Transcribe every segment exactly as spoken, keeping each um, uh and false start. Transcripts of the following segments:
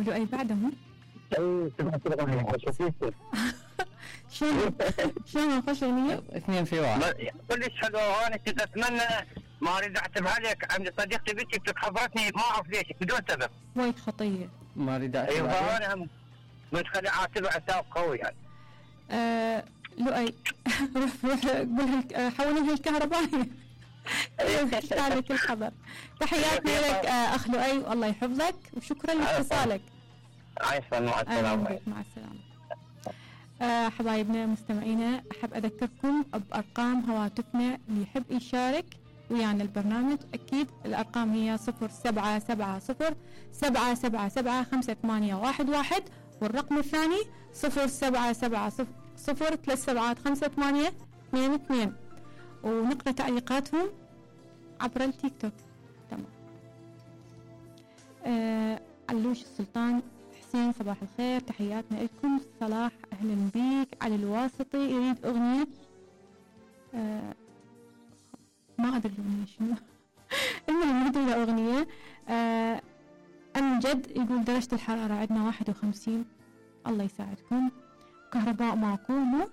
ولؤي بعدهم اي سمعت الاغنيه شفتيها شلون شلون خوش اغنيه اثنين في واحد كلش حلوه. وانا كنت اتمنى ما اريد اعتبها لك، عندي صديقتي بنتي خبرتني ما اعرف ليش بدون سبب وايد خطيه. ما اريد اعتبها ايوه انا هم مش خلي اعتبها عتاب قوي يعني. آه لؤي روح روح قولها حولها الكهربائيه لك الخبر. تحياتنا لك آه اخ لؤي والله يحفظك وشكرا لاتصالك. عايشة مع السلامه. مع السلامه. آه حبايبنا مستمعينا احب اذكركم بارقام هواتفنا اللي يحب يشارك ويانا البرنامج. اكيد الارقام هي صفر سبعة سبعة صفر سبعة سبعة سبعة خمسة ثمانية واحد واحد، والرقم الثاني صفر سبعة سبعة صفر صفر ثلاث سبعات خمسة ثمانية اثنين اثنين، ونقرأ تعليقاتهم عبر التيك توك. تمام. آه علوش السلطان حسين صباح الخير، تحياتنا لكم. صلاح اهلا بيك. علي الواسطي يريد اغنية آه ما ادري الاغنية شنو المهم يريد له اغنية. آه امجد يقول درجة الحرارة عندنا واحد وخمسين، الله يساعدكم. كهرباء ماكو مو.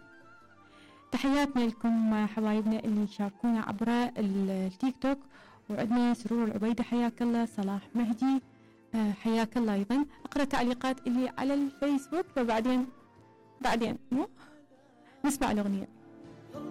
تحياتنا لكم حبايبنا اللي يشاركونا عبر التيك توك. وعندنا سرور العبيدة حياك الله. صلاح مهدي آه حياك الله ايضا. اقرا تعليقات اللي على الفيسبوك وبعدين بعدين مو نسمع الاغنيه.